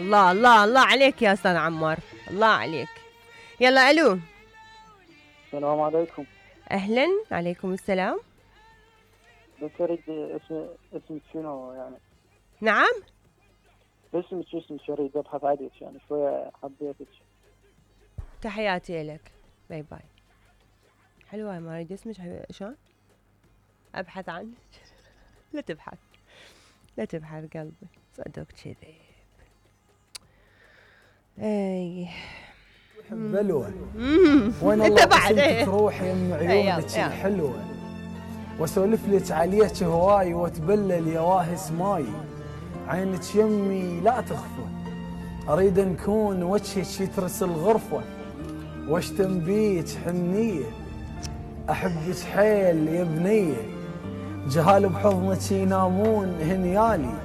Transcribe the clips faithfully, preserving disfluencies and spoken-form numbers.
الله الله الله عليك يا استاذ عمار، الله عليك. يلا الو. السلام عليكم. اهلا. عليكم السلام. بس اريد اسم اسمك شنو يعني؟ نعم؟ اسمك شو اسمك؟ اريد ابحث عنك يعني شويه حبيتك. تحياتي لك. باي باي. حلوة ما اريد اسمك شلون؟ ابحث عنك. لا تبحث لا تبحث قلبي، صدق كذب. اي بلوه وين انت بعد ايه تروح يم عيونك الحلوه واسولف لك عليك هواي واتبلل يا واهس ماي، عينك يمي لا تخفى، اريد نكون وجهك يترس الغرفه واشتم بيك حنيه، احبك حيل يا بنيه، جهال بحضنك ينامون هنيالي،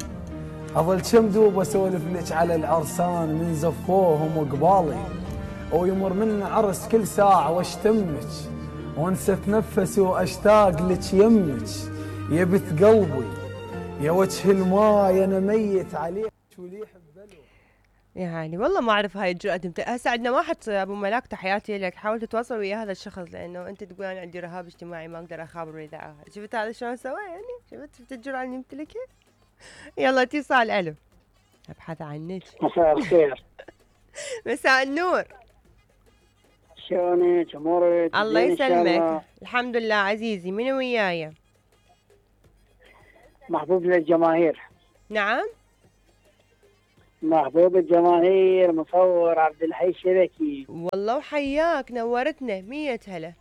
اظل كم دوب اسولف لك على العرسان من زفوهم وقبالي، ويمر من عرس كل ساعه واشتمك وانسى اتنفس واشتاق لك يمك، يا بت قلبي يا وجه الماي انا ميت عليك ولي يحب بلو. يعني والله ما اعرف هاي الجرأة تمت... هسه عندنا واحد ابو ملاك تحياتي لك، حاول تتواصل ويا هذا الشخص لانه انت تقول انا عندي رهاب اجتماعي ما اقدر اخابر اذاعه، شفت هذا شلون سوى يعني؟ شفت شفت الجرأة اللي يمتلكها؟ يلا اتصال. الو. ابحث عنك. مساء الخير. مساء النور. شلونك امورك؟ الله يسلمك. الحمد لله عزيزي. من وياي؟ محبوب للجماهير. نعم؟ محبوب الجماهير مصور عبد الحي الشبكي. والله وحياك، نورتنا. مية هلا.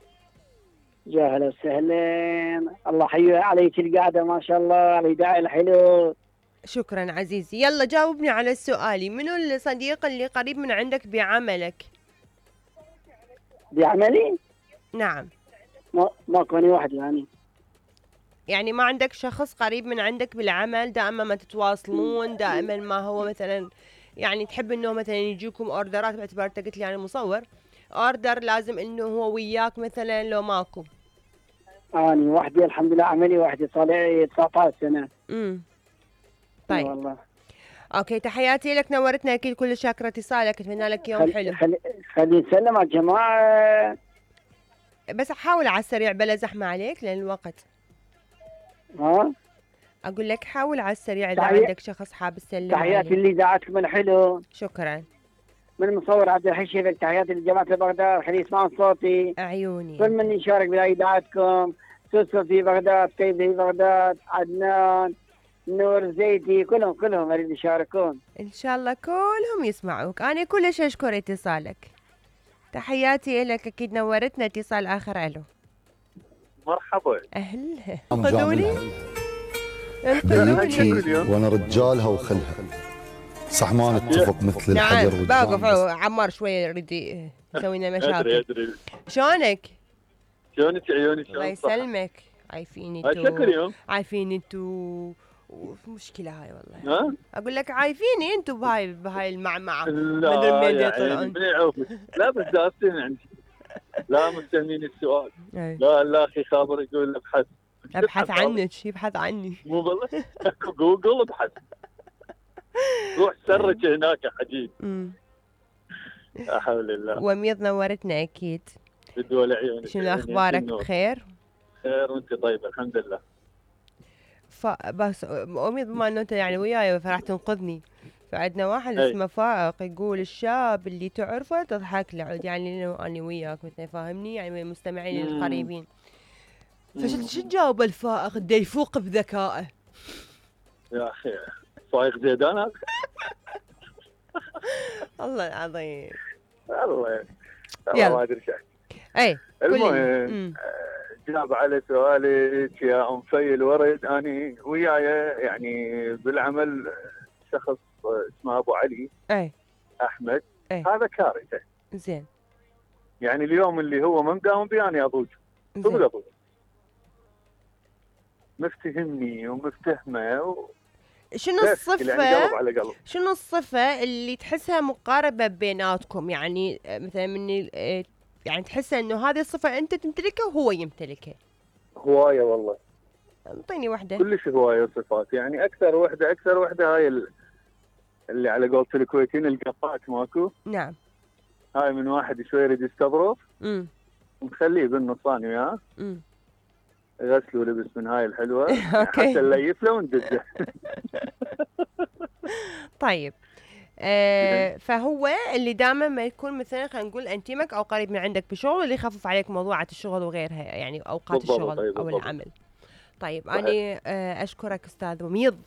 يا هلا وسهلا. الله حي عليك القعده ما شاء الله على الإذاعة الحلو. شكرا عزيزي. يلا جاوبني على سؤالي، منو الصديق اللي قريب من عندك بعملك؟ بعملي؟ نعم. ما ماكو اني واحد يعني. يعني ما عندك شخص قريب من عندك بالعمل دائما ما تتواصلون، دائما ما هو مثلا يعني تحب انه مثلا يجيكم اوردرات، باعتبار انت قلت لي يعني مصور اوردر لازم انه هو وياك مثلا لو ماكو؟ اني وحدي الحمد لله، عملي وحدي صار لي تسعطعش سنه. امم طيب والله. اوكي تحياتي لك، نورتنا اكيد، كل شاكره اتصالك، اتمنى لك يوم خل... حلو. خل... خلي نسلم على الجماعه، بس حاول على السريع بلا زحمه عليك لان الوقت. ها اقول لك حاول على السريع اذا تحيي... عندك شخص حاب تسلم عليه. تحياتي لاذاعتكم الحلو. شكرا. من المصور عبد الحي الشبكي، تحياتي لجماعه بغداد خلي يسمعون صوتي. عيوني. كل من يشارك باذاعتكم، سوسو في بغداد، كيف في بغداد، عدنان، نور زيتي، كلهم كلهم اريد يشاركون. ان شاء الله كلهم يسمعوك. انا كلش اشكر اتصالك. تحياتي لك، اكيد نورتنا. اتصال اخر. الو. مرحبا. اهلا. خذوني انقذوني وانا رجالها وخلها، صح ما نتفق مثل الحجر والجمر. نعم باقف عمار شويه يريد يسوي لنا مشاكل. ادري ادري. شلونك؟ شلونك عيوني؟ شلون؟ الله يسلمك. عايفين انتو؟ شكرا يوم. عايفين انتو؟ مشكلة هاي والله. ها؟ اقول لك عايفيني انتو بهاي بهاي المعمعة. لا يعني من يعوفك. لا بس داستين عندي. لا مستهمين السؤال. لا لا اخي خابر يقول ابحث. ابحث عنك. يبحث عني. مو والله. جوجل ابحث. روح سرج هناك يا حجيج. لا حول الله. وميض نورتنا اكيد. بدول عيونك. شنو اخبارك؟ بخير؟ خير وانت طيبه الحمد لله. فبس امي بما انه انت يعني وياي فراح تنقذني، فعندنا واحد أي. اسمه فائق يقول الشاب اللي تعرفه تضحك له، يعني اني وياك مثلا فاهمني، يعني المستمعين القريبين. فشو شو تجاوب الفائق اللي يفوق بذكائه؟ يا اخي فائق زيدان هذا. الله العظيم. الله والله ما ادري شيء. اي المهم جاب على سؤالك يا ام في الورد، اني وياي يعني بالعمل شخص اسمه ابو علي. اي احمد. أي. هذا كارثه. زين. يعني اليوم اللي هو ما مداوم بي انا اضوج. صدق اضوج. مفتهمني ومفتهمه و... شنو الصفة يعني قلب على قلب. شنو الصفة اللي تحسها مقاربة بيناتكم؟ يعني مثلا من يعني تحس انه هذه الصفة انت تمتلكها وهو يمتلكها؟ هواية والله. اعطيني وحدة. كلش هواية صفات، يعني اكثر وحدة اكثر وحدة هاي ال... اللي على قولة الكويتيين القطات ماكو. نعم. هاي من واحد شوي يريد يستظرف. امم. نخليه بالنصاني وياه. امم. غسل ولبس من هاي الحلوه. اوكي. حتى نليف له وندزه. طيب. آه فهو اللي دائما ما يكون مثلا خلينا نقول انتيمك او قريب من عندك بشغل، اللي يخفف عليك موضوعات الشغل وغيرها، يعني اوقات بالضبط. الشغل طيب او بالضبط. العمل. طيب صحيح. انا آه اشكرك استاذ وميض.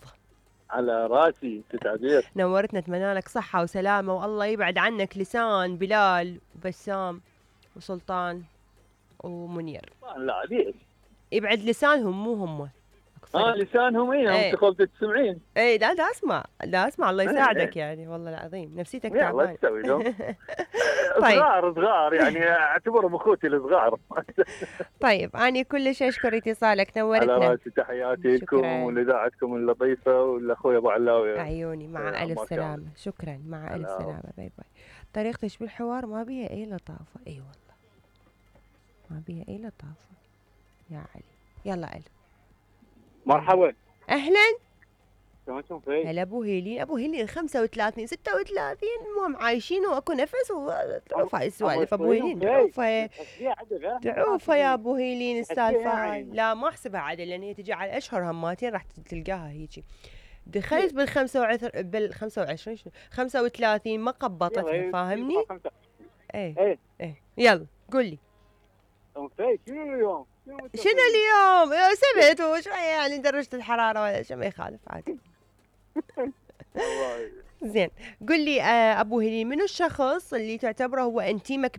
على راسي تتعبير. نورتنا، اتمنى لك صحه وسلامه، والله يبعد عنك لسان بلال وبسام وسلطان ومنير. لا ليش؟ يبعد لسانهم مو هم. اه لسانهم ايه ايه. انت قلت تسمعين. ايه لا لا اسمع، لا اسمع، الله ايه يساعدك ايه. يعني، والله العظيم نفسيتك يلا تعبانه. ايش تسوي لهم؟ طيب. صغار صغار يعني اعتبرهم اخوتي الصغار. طيب أنا كل شيء أشكر اتصالك، نورتنا. على راسي، تحياتي لكم ولإذاعتكم اللطيفة ولأخوي أبو علاوي. عيوني مع ألف سلامة. شكرا، مع ألف سلامة. باي باي. طريقتش بالحوار ما بيها أي لطافة. أي والله ما بيها أي لطافة يا علي. يلا علي. مرحبا. أهلا. شلونكم فيك؟ هلا أبو هيلين. أبو هيلين خمسة وثلاثين ستة وثلاثين المهم عايشين وأكو نفس وتعوف هاي السوالف. أبو هيلين تعوفها تعوفها يا أبو هيلين السالفة هاي. لا ما أحسبها عدل لأن هي تجي على الأشهر هماتين راح تلقاها هيجي. دخلت بالخمسة وعشر بالخمسة وعشرين خمسة وثلاثين ما قبطتها، فاهمني؟ ايه ايه يلا قول لي. شنو اليوم؟ شنو اليوم؟ سبت وشوية يعني درجة الحرارة ولا شيء ما يخالف عادي. زين قل لي آه أبو هليل، منو الشخص اللي تعتبره هو انتيمك